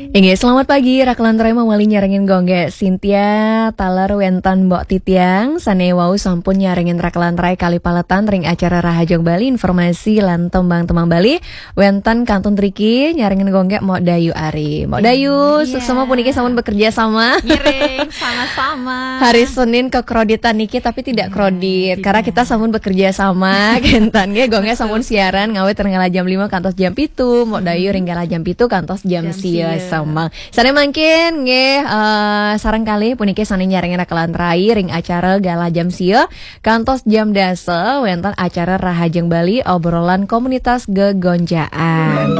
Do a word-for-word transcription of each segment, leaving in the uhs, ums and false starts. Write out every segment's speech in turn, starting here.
Inggih, selamat pagi, Rakelan Rai mawali nyarengin Gung Gek Sintia, taler wénten Mbok Titiang, sané wau sampun nyarengin Rakelan Rai kalih paletan ring acara Rahajeng Bali, informasi lan tembang-tembang Bali, wénten kantun driki nyarengin Gung Gek Mbok Dayu Ari. Mbok Dayu, iya, suksma puniki sampun bekerja sama. Ngiring, sama-sama. Hari Senin kekroditan niki, tapi tidak krodit, karena kita sampun bekerja sama, kénten nggih, Gung Gek sampun siaran ngawit ring galah jam lima kantos jam pitu, Mbok Dayu ring galah jam pitu kantos jam sia semeng. Sané mangkin nggih, eh, sareng kalih puniki sané nyarengin Rakelan Rai ring acara galah jam sia kantos jam dasa wénten acara Rahajeng Bali, obrolan komunitas gegonjaan.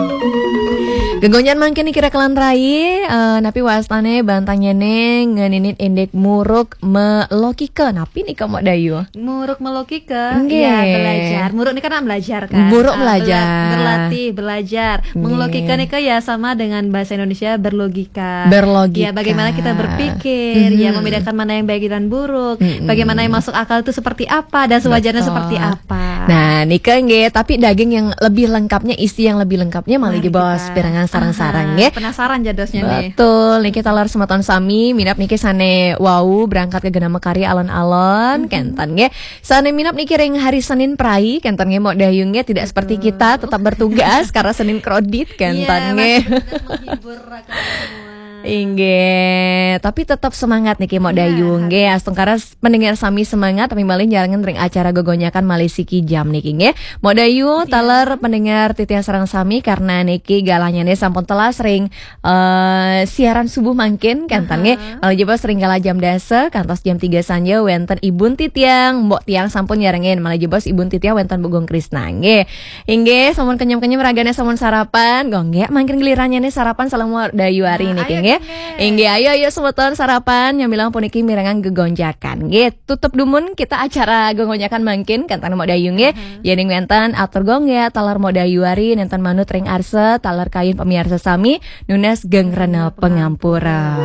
Gegonjaan mangkin niki Rakelan Rai, eh, napi wastané bantanyané ngeninin indik muruk melokika. Napi nika Mbok Dayu? Muruk melokika, nggih, ya, belajar. Muruk ini kan belajar, kan? Muruk, ah, bela-, belajar. Berlatih, belajar. Nggih. Melokika nika ya sama dengan bahasa Indonesia berlogika. Berlogika. Ya, bagaimana kita berpikir, ya, membedakan mana yang baik dan buruk, bagaimana yang masuk akal itu seperti apa dan sewajarnya seperti apa. Nah, nika nggih, tapi daging yang lebih lengkapnya, isi yang lebih lengkapnya malih jebos pirengang sareng-sareng nggih. Penasaran jadosnya nih. Betul, niki taler semeton sami, minab niki sané wau berangkat ke Genama Karya alon-alon, kénten nggih. Sané minab niki ring hari Senin prai, kénten nggih, Mbok Dayu nggih, tidak seperti kita, tetap bertugas karena Senin krodit, kénten nggih. Iya, masih bertugas menghibur rakan semua. Inggih, tapi tetap semangat niki Mbok Dayu nggih. Astungkara pendengar sami semangat, tapi malih nyarengin ring acara gegonjakan malih siki jam niki nggih. Mbok Dayu, taler pendengar titiang sareng sami, karena niki galahnyané sampun telas ring, eh, siaran subuh mangkin, kénten nggih. Malih jebos ring galah jam dasa kantos jam tiga sanja wénten ibun titiang, Mbok Tiang sampun nyarengin. Malih jebos ibun titiang wénten Mbok Gung Krisna nggih. Inggih, sampun kenyem-kenyem ragané sampun sarapan. Gung Gek, mangkin gilirannya nih sarapan sareng Mbok Dayu Ari niki nggih. Inggih, ayo, ayo semeton sarapan, nyamilang puniki mirengang gegonjakan. Nggih, tutup dumun kita acara gegonjakan mangkin, kénten Mbok Dayu nggih. Yéning wénten atur Gung Gek, taler Mbok Dayu Ari, nénten manut ring arsa, taler kayun pamiarsa sami, nunas geng rena pangampura.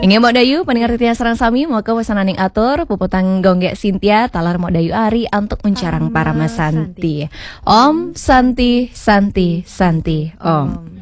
Inggih Mbok Dayu, pendengar titiang sareng sami, maka wasananing atur, puputang Gung Gek Sintia, taler Mbok Dayu Ari, antuk uncarang parama santi. Om Santi, Santi, Santi, Om.